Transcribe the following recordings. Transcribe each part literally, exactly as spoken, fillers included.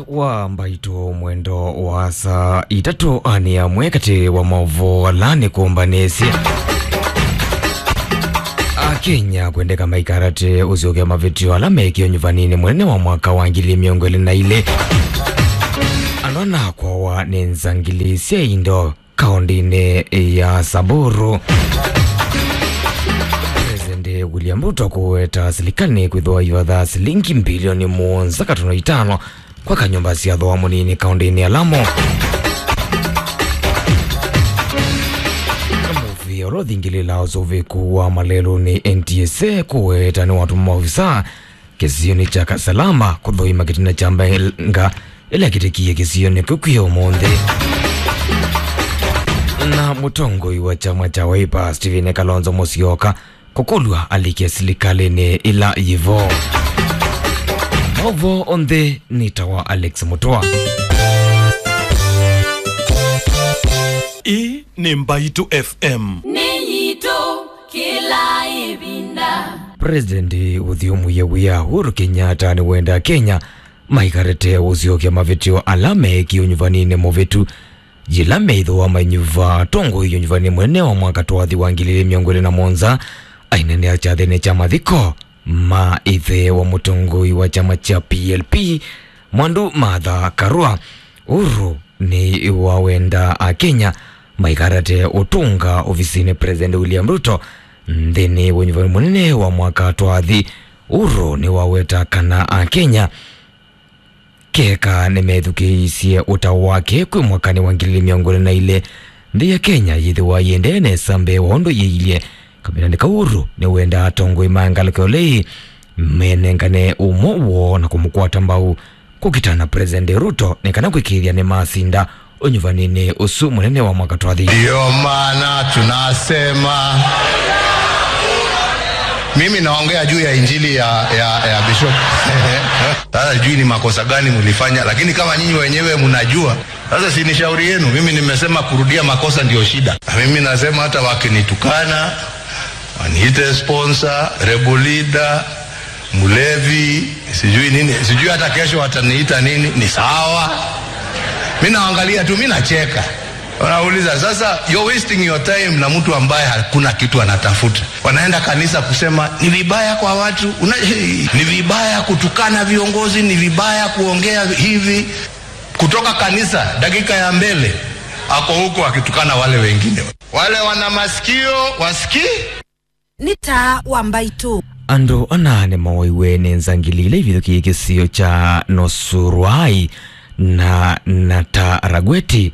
Wa mbaitũ mwendo wa saa itatũ, anĩ amwe katĩ wa maũvoo ala nĩkũmbanĩsye. Akenya kwendeka maikarate ũsyokea mavĩtyo ala mekie ũnyuvaninĩ mũnene wa mwaka wa ngili mĩongo ĩlĩ na ilĩ. Andũ ana kwawa nĩ nzangili sya indo kaũndĩnĩ ya Samburu. President William Ruto kũweta silikalĩ kwĩthĩwa ĩvatha silingi mbilioni mũonza katono itano kwaka nyũmba sya thooa mũnini kaũndĩnĩ ya Lamu. Mũvĩa ũla ũthingĩlĩlaa ũsũvĩku wa malelũnĩ N T S A kũweta nĩwatũma maovisaa kĩsionĩ kya Kasalama kũthũima kĩtina kya mbaĩnga ĩla kĩtĩkie kĩsionĩ kĩu kwĩ ũmũnthĩ. Na mũtongoi wa kyama kya Wiper, Stephen Kalonzo Musyoka, kũkũlw'a alike silikalĩnĩ ĩla yĩvo. Maũvoo onthe nĩ ta wa Alex Mũtũa. Ĩĩ nĩ Mbaitũ F M. Nĩ yitũ kĩla ĩvinda. President ũthyũmũie wĩa Uhuru Kenyatta nĩwenda Kenya maikarĩte ũsyokea mavĩtyo ala meekie ũnyuvaninĩ mũvĩtu. Yĩla meĩthĩwa mainyuva atongoi ũnyuvaninĩ mũnene wa mwaka twathi wa ngili ilĩ mĩongo ĩlĩ na mũonza, ainenea kyathĩnĩ kya mathiko ma ĩthe wa mũtongoi wa kyama kya P L P, Mwandu Martha Karua. Uhuru nĩwawenda Akenya maikarate ũtũnga ovisinĩ President William Ruto nthĩnĩ wa ũnyuvani mũnene wa mwaka twathi. Uhuru nĩwaweta kana Akenya keka nĩmethukĩĩisye ũtao wake kwĩ mwakanĩ wa ngili ilĩ mĩongo ĩlĩ na ilĩ, nthĩ ya Kenya yĩthĩwa yĩendee nesa mbee wa ũndũ yĩilye. Kavindanĩ kau Uhuru nĩwendaa atongoi ma ngalĩko ĩla ĩĩ menengane ũmwe woo na kũmũkwata mbau kũkitana President Ruto nĩ kana kwĩkĩĩthya nĩmasinda ũnyuvanĩnĩ ũsu mũnene wa mwaka twathi. Ndio maana tunasema, mimi naongea juu ya injili ya, ya, ya Bishop. Sasa sijui ni makosa gani mlifanya, lakini kama nyinyi wenyewe mnajua, sasa si ni shauri yenu. Mimi nimesema kurudia makosa ndio shida. Na mimi nasema hata wakinitukana, waniite sponsor, rebel leader, mlevi, sijui nini, sijui hata kesho wataniita nini, ni sawa. Mi naangalia tu, mi nacheka. Wanauliza, sasa you're wasting your time na mtu ambaye hakuna kitu anatafuta. Wanaenda kanisa kusema ni vibaya kwa watu, una, ni vibaya kutukana viongozi, ni vibaya kuongea hivi. Kutoka kanisa, dakika ya mbele, ako huko akitukana wale wengine. Wale wana masikio, wasikii. Nĩ taa wa mbaitũ. Andũ ana nĩmooiwe nĩ nzangili ila ivithũkĩie kĩsio kya Nosuruai na Nataragweti,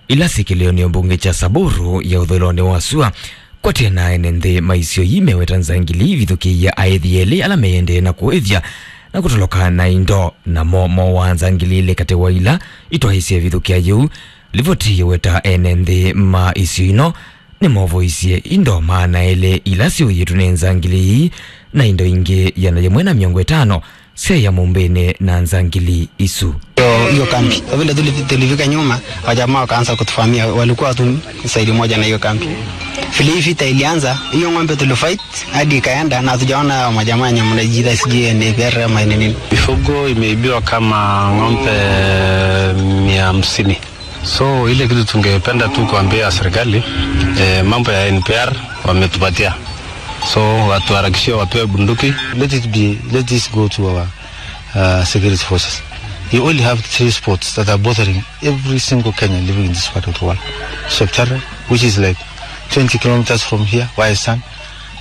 ila syĩ kĩlĩonĩ mbunge kya Samburu ya ũthũĩlonĩ wa sua. Kwatĩ na ene nthĩ ma isio ii meweta nzangili ivithũkĩie aĩthi elĩ ala meyendee na kũĩthya na kũtoloka na indo, namo mooaa nzangili ilĩ katĩ wa ila itwaĩĩsye ĩvithũkĩa yĩu. Livoti yĩweta ene nthĩ ma isio ino nĩmovoisye indo maana elĩ ila syũĩtwe nĩ nzangili ii, na indo ingĩ ĩana yĩmwe na mĩongo ĩtano syaĩa mũmbĩnĩ na nzangili isu. Hiyo, hiyo kambi. Kwa vile tuli-, tulifika nyuma, wajamaa wakaanza kutuvamia, walikuwa tu side moja na hiyo kambi. Vile hii vita ilianza, hiyo ng'ombe tulifight hadi ikaenda na hatujaona hao majamaa wenye mnajiita sijui N P R ama ni nini. Mifugo imeibiwa kama ng'ombe mia hamsini. So, ile kitu tungependa tu kuambia serikali, eh, mambo ya N P R wametupatia. So, watuharakishie wapewe bunduki. Let it be, let this go to our, uh, security forces. You only have three spots that are bothering every single Kenyan living in this part of the world. Sheptare, which is like twenty kilometers from here, where I stand.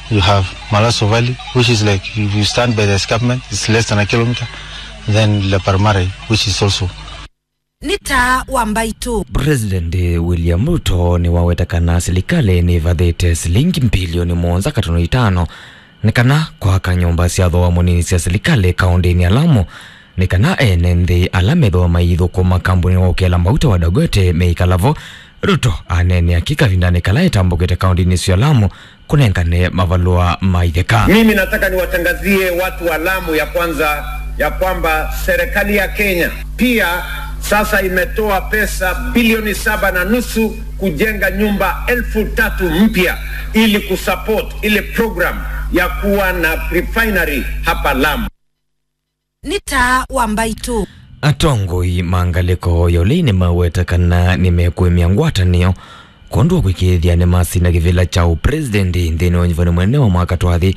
You have Malaso Valley, which is like, if you stand by the escarpment, it's less than a kilometer. Then Leparmare, which is also Nĩ taa wa mbaitũ. President William Ruto nĩwaweta kana silikalĩ nĩvathĩte silingi mbilioni mũonza katono itano nĩ kana kwaka nyũmba sya thooa mũnini sya silikalĩ kaũndĩnĩ ya Lamu, nĩ kana ene nthĩ ala methĩwa maithũkũma kambunĩ wa ũkela mauta wa Dangote meĩkala vo. Ruto aneenea kĩ kavindanĩ kala etambũkĩte kaũndĩnĩ sya Lamu kũnengane mavalũa ma itheka. Mimi nataka niwatangazie watu wa Lamu ya kwanza ya kwamba serikali ya Kenya pia sasa imetoa pesa bilioni saba na nusu kujenga nyumba elfu tatu mpya ili kusupport ile program ya kuwa na refinery hapa Lamu. Nĩ taa wa mbaitũ. Atongoi ma ngalĩko ya ũlei nĩmaweta kana nĩmekwĩmya ngwatanĩo kwondũ wa kũĩkĩĩthya nĩmasina kĩvĩla kya ũpresident nthĩnĩ wa ũnyuvani mũnene wa mwaka twathi.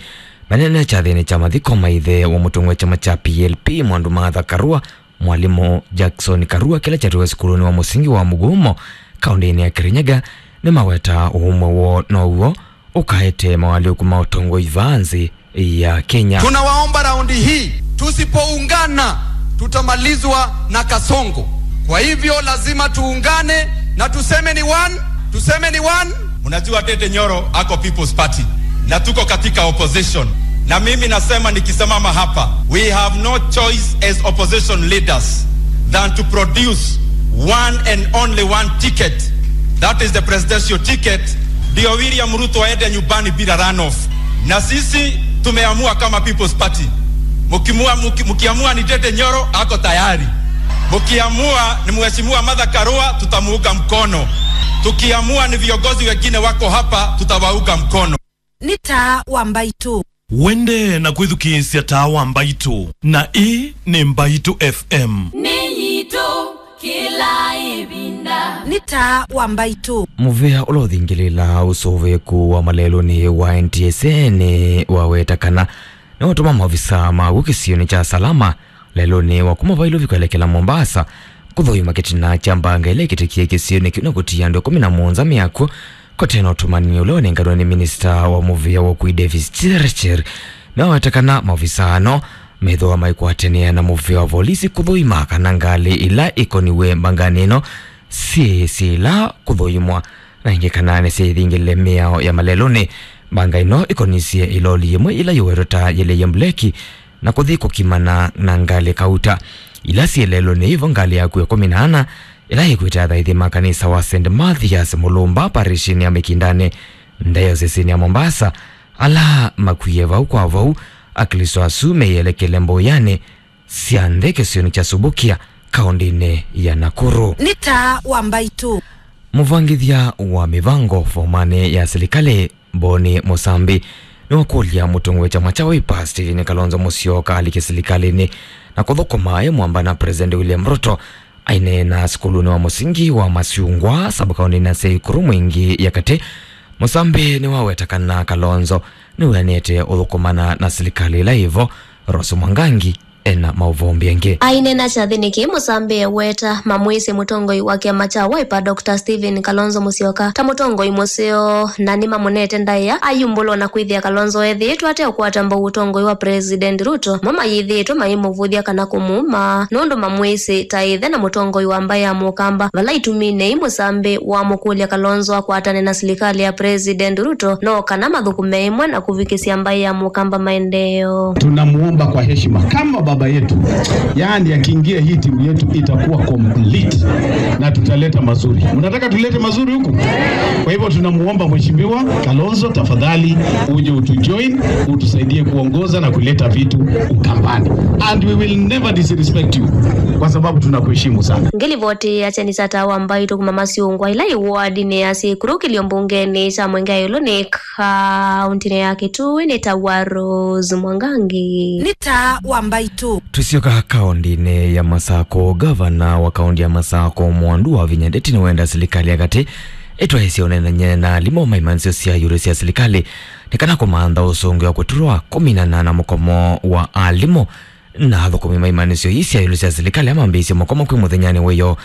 Manene kyathĩnĩ kya mathiko ma ĩthe wa mũtongoi wa kyama kya P L P, Mwandu Martha Karua, mwalimũ Jackson Karua, kĩla kyatũwe sukulunĩ wa mũsingi wa Mugumo, kaũndĩnĩ ya Kirinyaga, nĩmaweta ũũmwe woo now'o ũkaete mawalĩũku ma ũtongoi vaa nthĩ ya Kenya. Tunawaomba raundi hii, tusipoungana, tutamalizwa na Kasongo. Kwa hivyo lazima tuungane na tuseme ni one, tuseme ni one. Mnajua Ndindi Nyoro ako People's Party na tuko katika opposition. Na mimi nasema, nikisimama hapa, we have no choice as opposition leaders than to produce one and only one ticket. That is the presidential ticket. Ndio William Ruto aende nyumbani bila runoff. Na sisi tumeamua kama People's Party. Mkimua-, mki-, mkiamua ni Ndindi Nyoro, ako tayari. Mkiamua ni Mheshimiwa Martha Karua, tutamuunga mkono. Tukiamua ni viongozi wengine wako hapa, tutawaunga mkono. Nĩ taa wa Mbaitũ. Wendee na kwĩthukĩĩsya taa wa Mbaitũ, na ĩĩ nĩ Mbaitũ F M. Nĩ yitũ kĩla ĩvinda. Nĩ taa wa Mbaitũ. Mũvĩa ũla ũthingĩlĩĩlaa ũsũvĩĩku wa malelũnĩ wa N T S A nĩwaweta kana nĩwatũma maovisaa maw'o kĩsionĩ kya Salama lelũnĩ wa kuma Vailovi kwelekela Mombasa kũthũima kĩtina kya mbanga ĩla ĩkĩtĩkie kĩsionĩ kĩu na kũtia andũ ĩkũmi na mũonza myakw'o. Kũte na ũtũmani ũla wanenganwe nĩ minista wa mũvĩa wa ũkui Davis Chirchir, nĩwaweta kana maovisaa ano methĩwa maikwatanĩa na mũvĩa wa volisi kũthũima kana ngalĩ ila ikoniwe mbanganĩ ĩno syĩ syĩla kũthũimwa, na ĩngĩ kana nĩsyaithingĩlile mĩao ya malelũnĩ. Mbanga ĩno ĩkonisye ĩloli yĩmwe ĩla yĩwetwe ta yĩleie mbuleki na kũthi kũkimana na ngalĩ kauta ila syĩ lelũnĩ. Ĩvo ngalĩ yaku ĩkũmi na ana ĩla yĩkwĩte athaithi ma kanisa wa Saint Mathias Mulumba parishinĩ ya Mikindani, ndayosisinĩ ya Mombasa, ala makwie vau kwa vau, Aklĩsto asu meyelekele mbũyanĩ sya nthĩ kĩsionĩ kya Subukia, kaũndĩnĩ ya Nakuru. Nĩ taa wa Mbaitũ. Mũvangĩthya wa mĩvango fomanĩ ya silikalĩ Boni Mũsambi nĩwakũlya mũtongoi wa kyama kya Wiper Stephen Kalonzo Musyoka alike silikalĩnĩ na kũthũkũma e mwamba na President William Ruto. Aineena sukulunĩ wa mũsingi wa Masyungwa, sub-kaũntĩnĩ ya Nakuru Mwingi ya katĩ, Mũsambi nĩwaweta kana Kalonzo nĩwĩanĩte ũthũkũmana na silikalĩ ĩla ĩvo. Rose Mwangangi ena maũvoo mbingĩ. Aineena kyathĩnĩ kĩĩ, Mũsambi eweta mamwĩsĩ mũtongoi wa kyama kya Wiper, Doctor Stephen Kalonzo Musyoka, ta mũtongoi mũseo, na nĩmamũnete ndaĩa ayumbũlwa na kwĩthĩa Kalonzo ethĩĩtwe ateũkwata mbau ũtongoi wa President Ruto. Mo mayĩthĩĩtwe maimũvũthya kana kũmũuma nũndũ mamwĩsĩ ta ĩthe na mũtongoi wa mbaĩ ya Mũkamba. Vala ituminĩ ii, Mũsambi wamũkũlya Kalonzo akwatane na silikalĩ ya President Ruto no kana mathũkũme ĩmwe na kũvikĩsya mbaĩ ya Mũkamba maendeeo. Tunamuomba kwa heshima kama baba yetu, yaani akiingia hii timu yetu itakuwa complete na tutaleta mazuri. Mnataka tulete mazuri huku? Kwa hivyo tunamuomba Mheshimiwa Kalonzo, tafadhali uje utujoin, utusaidie kuongoza na kuleta vitu Ukambani. And we will never disrespect you kwa sababu tunakuheshimu sana. Ngĩlivoti ya kyeni kya taa wa Mbaitũ kuma Masyungwa ĩla ĩ wardinĩ ya Syĩkũlũ kĩlio mbungenĩ kya Mwingi ya ĩũlũ nĩ kaũntĩnĩ ya Kitui nĩ ta wa Rose Mwangangi. Nĩ taa wa Mbaitũ. Tũsyoka kaũntĩnĩ ya Masakũ, ngavana wa kaũntĩ ya Masakũ, Mwandu wa Vinya Ndeti, nĩwenda silikalĩ ya katĩ ĩtwaĩsye ũneenany'a na alimũ ma imanyĩsyo sya ĩũlũ sya silikalĩ nĩ kana kũmantha ũsũngĩo wa kũtũlwa kũminana na mũkomo wa alimũ na athũkũmi ma imanyĩsyo ii sya ĩũlũ sya silikalĩ ala mambĩĩsye mũkomo kwĩ mũthenyanĩ wa ĩyoo.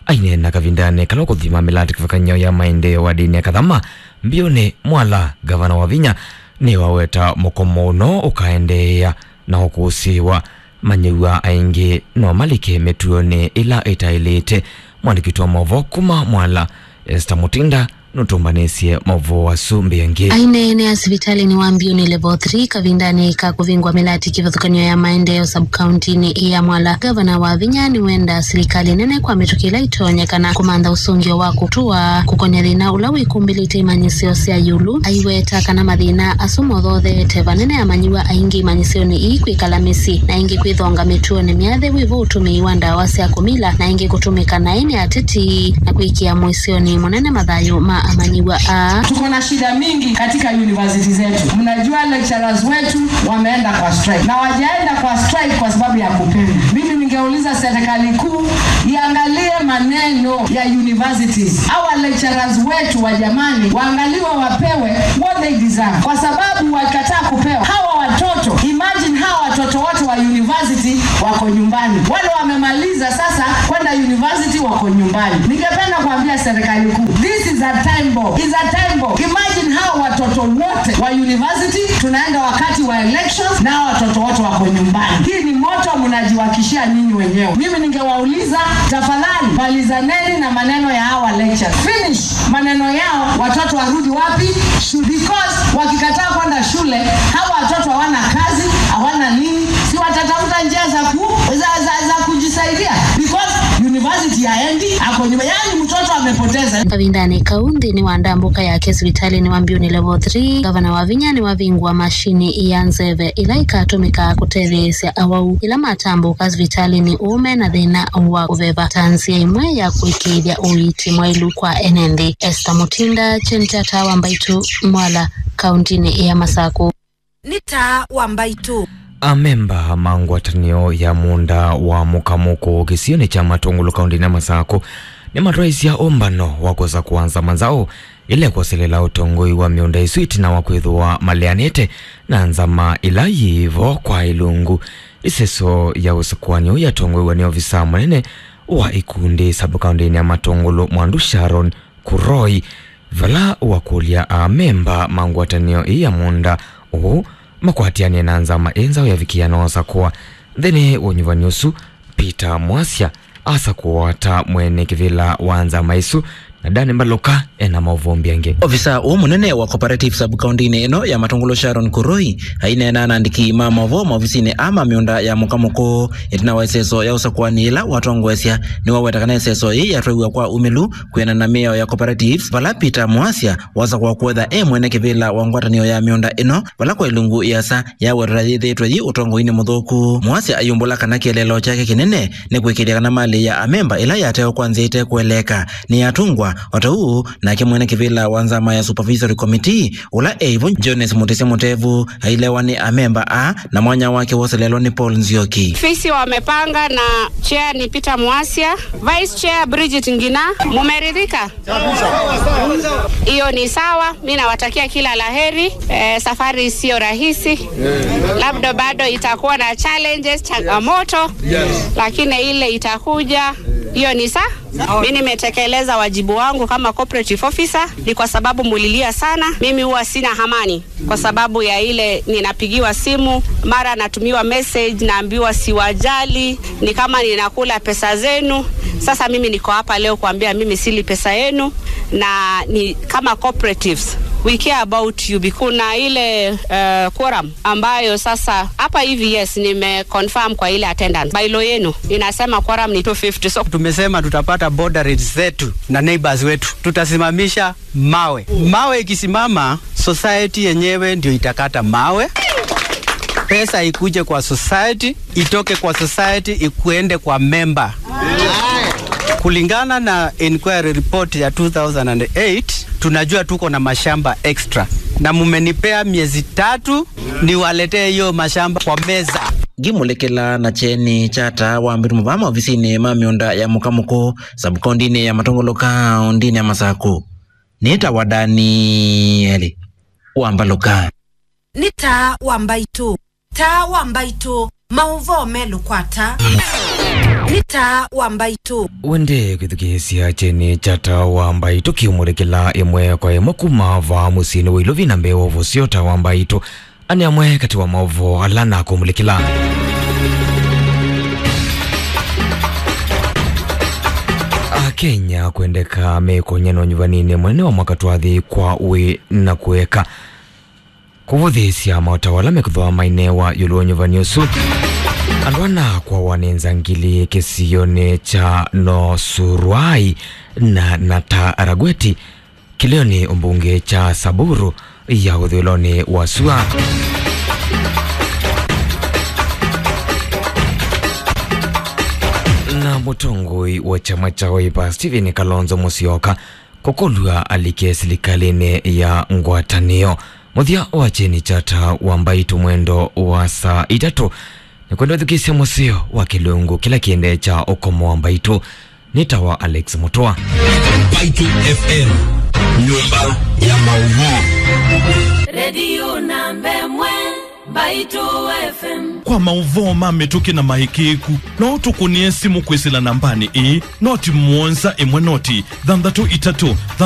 Aineena kavindanĩ kala ũkũthima mĩlatĩ kĩvathũkany'o ya maendeeo wardinĩ ya Kathama, Mbiũnĩ Mwala, ngavana wa Vinya nĩwaweta mũkomo ũno ũkaendeea na ũkũsĩĩwa. Manyĩw'a aingĩ no malike mĩtuonĩ ĩla ĩtaĩlĩte. Mwandĩki witũ wa maũvoo kuma Mwala, Esther Mutinda, nũtũmbanĩsye maũvoo asu mbingĩ. Aineenea sivitalĩnĩ wa Mbiũnĩ Level three kavindanĩ ka kũvingwa mĩlatĩ kĩvathũkany'o ya maendeeo sub-kaũntĩnĩ ya Mwala, ngavana wa Vinya nĩwenda silikalĩ nene kwa mĩtũkĩ ĩla ĩtonyekana kũmantha ũsũngĩo wa kũtũa kũkonya thĩna ũla wĩkumbĩlĩte imanyĩsyo sya ĩũlũ. Aiweta kana mathĩna asu mothootheete vanene amanyĩw'a aingĩ imanyĩsyonĩ ii kwĩkala mĩsyĩ, na ĩngĩ kwĩthonga mĩtuonĩ myathĩ wĩvo ũtũmĩi wa ndawa sya kũmila, na ĩngĩ kũtũmĩka naĩ nĩ ateti na kwĩkĩa mũisyonĩ mũnene mathayũ ma amanyĩw'a aa. Tuko na shida mingi katika university zetu. Mnajua lecturers wetu wameenda kwa strike. Na wajaenda kwa strike kwa sababu ya kupenda. Mimi Ningeuliza serikali kuu iangalie maneno ya universities. Hawa lecturers wetu wa jamani, waangaliwe, wapewe what they deserve. Kwa sababu wakataa kupewa. Hawa watoto, imagine hawa watoto wote wa university wako nyumbani. Wale wamemaliza sasa kwenda university wako nyumbani. Ningependa kuambia serikali kuu, this is a time bomb. Is a time bomb. Imagine hawa watoto wote wa university, tunaenda wakati wa elections na hawa watoto wote wako nyumbani. Hii ni moto mnajiwakishia nyinyi wenyewe. Mimi ningewauliza, tafadhali, malizaneni na maneno ya hawa lecturers. Finish maneno yao, watoto warudi wapi? Shule. Because wakikataa kwenda shule, hawa watoto hawana kazi, hawana nini, si watatafuta njia za ku-, za, za, za kujisaidia? Because university haendi, ako nyuma. Yaani mtoto amepoteza. Kavindanĩ kau, nthĩnĩ wa ndambũka yake sivitalĩnĩ wa Mbiũnĩ Level three, ngavana Wavinya nĩwavingũa mashini ya nzeve ĩla ĩkatũmĩkaa kũtetheesya awau ĩla matambũka sivitalĩnĩ ũũ me na thĩna wa kũveva ta nzĩa ĩmwe ya kũĩkĩĩthya ũiiti mwaĩlu kwa ene nthĩ. Esther Mutinda, Kyeni kya Taa wa Mbaitũ, Mwala, kauntinĩ ya Masakũ. Nĩ Taa wa Mbaitũ. Amemba ma ngwatanĩo ya mũũnda wa mũkamũkũ kĩsionĩ kya Matũngũlũ kauntinĩ ya Masakũ nĩmatwaĩsya ũmbano wa kũsakũa nzama nzaũ ĩla ĩkwoselela ũtongoi wa mĩũnda ĩsu ĩtina wa kwĩthĩwa maleanĩte na nzama ĩla yĩ vo kwa ilungu. Ĩseso ya ũsakũani ũũ yatongoew'a nĩ ovisa mũnene wa ikundi sub-kauntinĩ ya Matũngũlũ, Mwandu Sharon Kuroi, vala wakũlya amemba ma ngwatanĩo ĩĩ ya mũũnda ũũ makwatĩanĩe na nzama ĩ nzaũ yavikĩa na ũsakũa. Nthĩnĩ wa ũnyuvani ũsu, Peter Mwasya asakũwa ta mwene kĩvĩla wa nzama ĩsu, na Dani Mbalũka ena maũvoo mbingĩ. Ovisa ũũ mũnene wa cooperative sub-kauntinĩ ĩno ya Matũngũlũ, Sharon Kuroi, aineena na andĩki ma maũvoo maovisinĩ aa ma mĩũnda ya mũkamũkũ ĩtina wa ĩseso ya ũsakũani ĩla watongoesya. Nĩwaweta kana ĩseso yĩĩ yatwaiw'a kwa umĩlu kwĩanana na mĩao ya cooperatives, vala Peter Mwasya wasakũwa kwetha e mwene kĩvĩla wa ngwatanĩo ya mĩũnda ĩno, vala kwa ilungu ĩasa yawetwa yĩthĩĩtwe yĩ ũtongoinĩ mũthũku. Mwasya ayumbũla kana kĩeleelo kyake kĩnene nĩ kũĩkĩĩthya kana malĩ ya amemba ĩla yatewa kwa nzĩa ĩtekũeleeka nĩyatũngwa, o ta ũu nake mwene kĩvĩla wa nzama ya Supervisory Committee, ũla e vo Jones Mutisya Mutevu, ailewa nĩ amemba aa, na mwanya wake woselelwa nĩ Paul Nzioki. Ofisi wamepanga na chair ni Peter Mwasya, vice chair Bridget Ngina. Mumeridhika? Hiyo ni sawa. Mi nawatakia kila la heri. Eh, safari sio rahisi, labda bado itakuwa na challenges, changamoto, lakini ile itakuja, hiyo ni sa. Mi nimetekeleza wajibu wangu kama cooperative officer, ni kwa sababu mulilia sana. Mimi huwa sina amani kwa sababu ya ile ninapigiwa simu, mara natumiwa message, naambiwa siwajali, ni kama ninakula pesa zenu. Sasa mimi niko hapa leo kuambia mimi sili pesa yenu, na ni kama cooperatives, we care about you. Kuna ile, uh, quorum ambayo sasa hapa hivi, yes, nime confirm kwa ile attendance. Bylaw yenu inasema quorum ni two fifty. So tumesema tutapata border raids zetu na neighbors wetu. Tutasimamisha mawe. Mawe ikisimama, society yenyewe ndio itakata mawe. Pesa ikuje kwa society, itoke kwa society, ikuende kwa member. Kulingana na inquiry report ya two thousand and eight, tunajua tuko na mashamba extra. Na mumenipea miezi tatu niwaletee hiyo mashamba kwa meza. Ngimulekela na kyeni kya Taa wa Mbaitũ mavaa maovisinĩ ma mĩũnda ya mũkamũkũ, sub-kauntinĩ ya Matũngũlũ, kauntinĩ ya Masakũ. Nĩtawa Danieli wa Mbalũka. Nĩ Taa wa Mbaitũ. Taa wa Mbaitũ, maũvoo melũ kwa Taa. Nĩ Taa wa Mbaitũ. Wende kwĩthukĩĩsya kyeni kya Taa wa Mbaitũ kĩũmũlĩkĩla ĩmwe kwa ĩmwe kuma vaa mũsyĩnĩ wa Ilovi na mbee wa ũvosyo. Taa wa Mbaitũ, aa nĩ amwe katĩ wa maũvoo ala nakũmũlĩkĩla. Akenya kwendeka mekũny'a na ũnyuvaninĩ mũnene wa mwaka twathi kwa wĩ na kũeka kũvũthĩĩsya maũtao ala mekũthwa maineewa ĩũlũ wa ũnyuvani ũsu. Andũ ana kwawa nĩ nzangili kĩsionĩ kya Nosuruai na Nataragweti, kĩlĩonĩ ũmbunge kya Samburu ya ũthũĩlonĩ wa sua. Na mũtongoi wa kyama kya Wiper, Stephen Kalonzo Musyoka, kũkũlw'a alike silikalĩnĩ ya ngwatanĩo. Mũthya wa kyeni kya Taa wa Mbaitũ mwendo wa saa itatũ, Nĩkwenda ũthukĩĩsya mũseo wa kĩlungu kĩla kĩendee kya ũkomo wa Mbaitũ. Nĩtawa Alex Mũtũa. Mbaitũ F M, nyũmba ya maũvoo. Redio namba ĩmwe, Mbaitũ F M. Kwa maũvoo ma mĩtũkĩ na maĩkĩĩku, no ũtũkũnĩe simũ kwĩsĩla nambanĩ ĩĩ, noti mũonza ĩmwe noti thanthatũ itatũ